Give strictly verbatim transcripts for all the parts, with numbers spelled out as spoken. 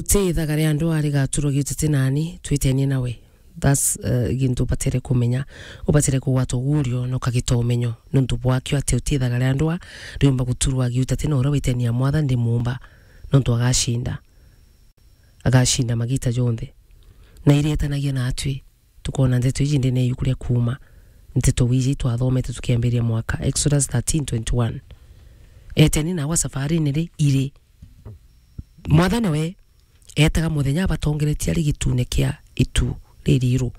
Ti ithaga ria ndwaa rigaturwa giutete nani, twitenie nawe. That's, uh, gintu ubatere kumenya. Ubatere kugwata ugurio na ukagita umenyo. Nontu bwakio ati uti ithaga ria ndwaa riumba guturwa giutete na uria witenia Mwathani ndi muumba. Nontu agacinda. Agacinda magita jonthe. Na irietanagia na atwi. Tukona ndeto iji ndene yuku ria kuuma. Nteto wiji twathomete tukiambiria mwaka. Exodus thirteen twenty-one. Eteni nawe safarini ri iri. Mwathani we eetaga muthenya abatongeretie ari gitune kia itu ririru,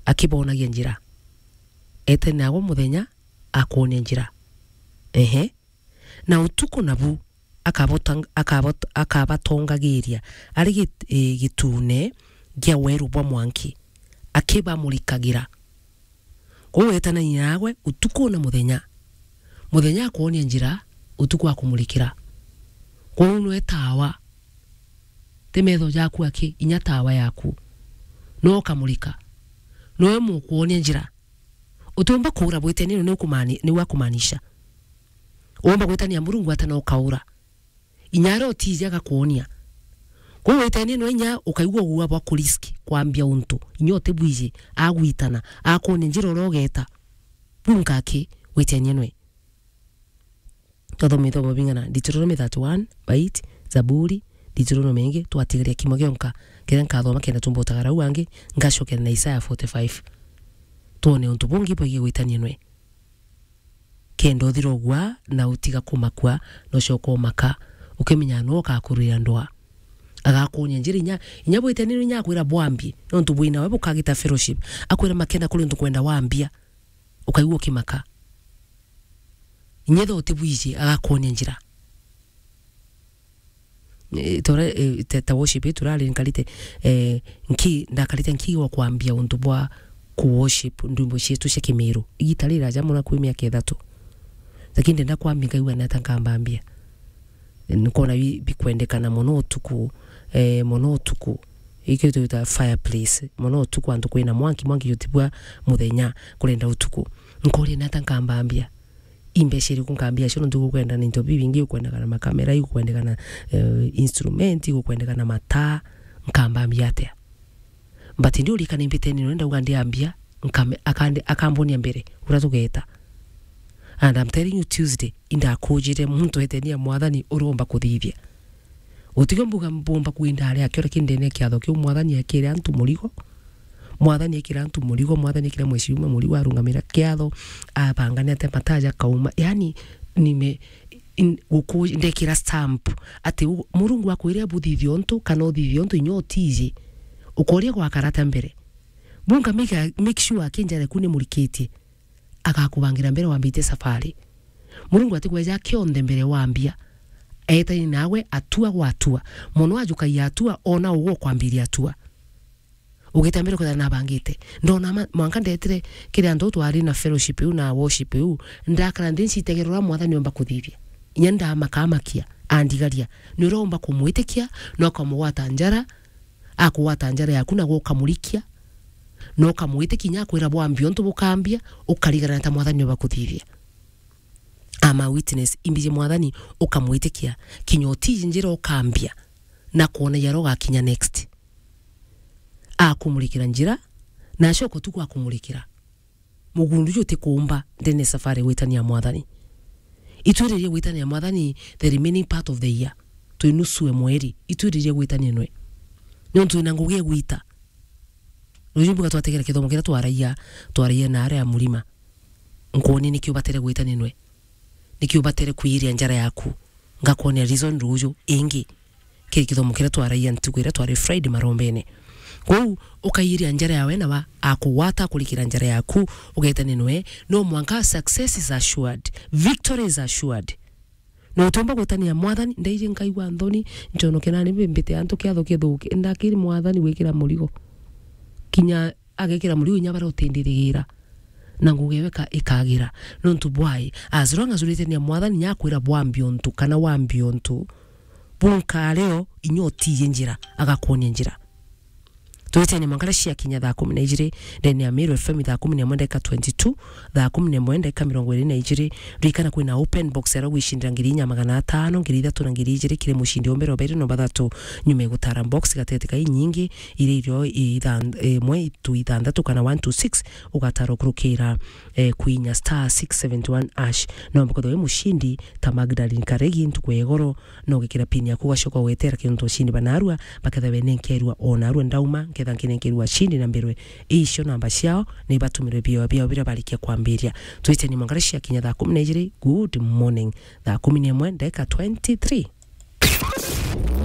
akibonagia njira. Eete naagwe muthenya akwonia njira. Ehe. Na utuku nabu akabota-, akabot-, akabatongagiria ari git-, eh, gitune gia weru bwa mwanki, akibamurikagira. Kwou etanania naagwe utuku na muthenya. Muthenya akwonia njira, utuku akumurikira. Kwou nwe tawa. Ti metho jaku aki, inya tawa yaku. Nwe ukamurika. Nwe mukwonia njira. Utiumba kuura bwitenia ni ukumani-, ni wakumaanisha. Uumba gwitania Murungu ata na ukaura. Inya aria utiiji agakwonia. Kwou witenie nwe inya ukaigua uua bwa kurisk kwambia untu. Inya utibwiji, agwitana, akwonia njira uria ugeeta. Buu nkaki, witenie nwe. Twathoma ithomo bing'ana, Deuteronomy thirty-one, bait, Zaburi, Deuteronomy ingi, twatigaria kimwe gionka, kiria nkathoma kenda tumba utagara u angi, ngacokera na Isaiah forty-five. Twone untu bungi bwigii gwitania nwe. Kenda uthira ugua na utiga kumakua, na ucoka umaka, ukimenya no ukakurwira ndwaa. Agakuonia njira inya, inya bwite ni inya akwira bwambie, nontu bwina we bukagita fellowship. Akwira makena kuri untu kwenda wambia, ukaigua ukimaka. Inya tho utibwiji, agakuonia njira. Eh, tora, eh, te-, ta worship yetu rari nkarite, eh, nki-, ndakarite nkiigwa kwambia untu bwa ku worship ndwimbo cietu cia Kimiru. Igita riraja mono kwi miaka ithatu. Lakini ndenda kwambia nkaigua nata nkambambia. Nkona bi-, bikwendekana mono utuku, eh, mono utuku. Ikio twita fireplace. Mono utuku antu kwina mwanki, mwanki jutibua muthenya, kurenda utuku. Nkoria nata nkambambia. Imbeca iriku nkambia cio, nontu igukwendana into bibingi, igukwendekana makamera, igukwendekana, eh, instrument, igukwendekana mataa, nkambambia atia? But ndi urikana imbitene nwe ndauga ndiambia, nkame-, akande-, akambonia mbere, uria tugeeta. And I'm telling you, Tuesday, indakujire muntu etenia Mwathani uromba kuthithia. Utige mbuga mbomba kwinda aria akio, lakini ndene kiatho kiu Mwathani ekire antu murigo. Mwathani ekire antu murigo, Mwathani ekire mheshimiwa murigo, arungamira kiatho, abangane ate mataja kauma. Yani, nime-, in-, guku-, ndekira stamp ati u-, Murungu akwire abuthithie untu, kana uthithie untu inya utiji. Ukoria gwakarata mbere. Bunga make, make sure akinjare ku ni murikitie. Agakubangira mbere wambite safari. Murungu atikweja kionthe mbere wambia. Etani nawe atua gwa atua. Mono ajukagia atua, ona ugu ukwambiria atua. Ugita mbere kwithira nabangite. Ndona ma-, mwanka ndetire kiri antu twari na fellowship iu na worship iu, ndakara nthi ncitegerera uria Mwathani omba kuthithia. Inya ndamakamakia, andigaria. Ni uria omba kumwitikia, na ukamugwata njara, akugwata njara yaku na gukamurikia, na ukamwitikia inya akwira bwambia untu bukambia, ukarigana ta Mwathani omba kuthithia. I'm a witness, imbiji Mwathani ukamwitikia, kinya utiji njira ukambia, na kwona yaro ugakinya next. Akumurikira njira, na acoka utuku akumurikira. Mugundu ju utikuumba ndene safari gwitania Mwathani. Itwiririe gwitania Mwathani the remaining part of the year. Twi nusu e mweri, itwiririe gwitania nwe. Nontu twina ngugi e gwita. Ruju mbuga twategera kithomo kiria twaragia, twaragia na aria a murima. Nkwoni nikio ubatere gwitania nwe. Nikio ubatere kwiria njara yaku. Ngakwonia reason ruju ingi. Kiri kithomo kiria twaragia ntuku iria twari Friday marombene. Kwou, ukairia njara yawe na wa akugwata kurikira njara yaku, ugetania nwe, no mwanka success is assured, victory is assured. Na utiumba gwitania Mwathani, ndaiji nkaigua nthoni, nconoke nani mbite antu kiatho kithuki, ndakiri Mwathani gwikira murigo. Kinya agekira murigo inya baria utindirigira. Na ngugi ewe ka-, ikagira. Nontu bwai, as long as uritania Mwathani, nyakwira bwambia untu, kana wambia untu, bunkareo, inya utiye njira, agakwonia njira. Twiteni mwanka riria ciakinya thaa kumi na ijiri, ndene ya Meru F M thaa kumi na imwe ndagika twenty-two, thaa kumi na imwe ndagika mirongo iri na ijiri. Ririkana kwina open box ya gwicindira ngiri inya magana atano, ngiri ithatu na ngiri ijiri kiri mucindi o mbere, o bairi na bathatu. Nyuma ya gutara box gatete ka inyingi, iria irio ithan-, imwe tu ithanthatu kana one to six, ugatara ukurukira, eh, kwinya star six seventy one hash. No mbuko wi mucindi ta Magdalene Karegi ntuku ya igoro, no ugikira pin yaku ugacoka ugwetera kintu ucindi banarua, baketha we nenkerua o narua ndauma, nketha nkinenkerua cindi na mbirwe. Icio namba ciao, ni batumirwe bio biao biria barikia kwambiria. Twiteni mwanka riria ciakinya thaa kumi na ijiri. Good morning. Thaa kumi na imwe ndagika twenty-three.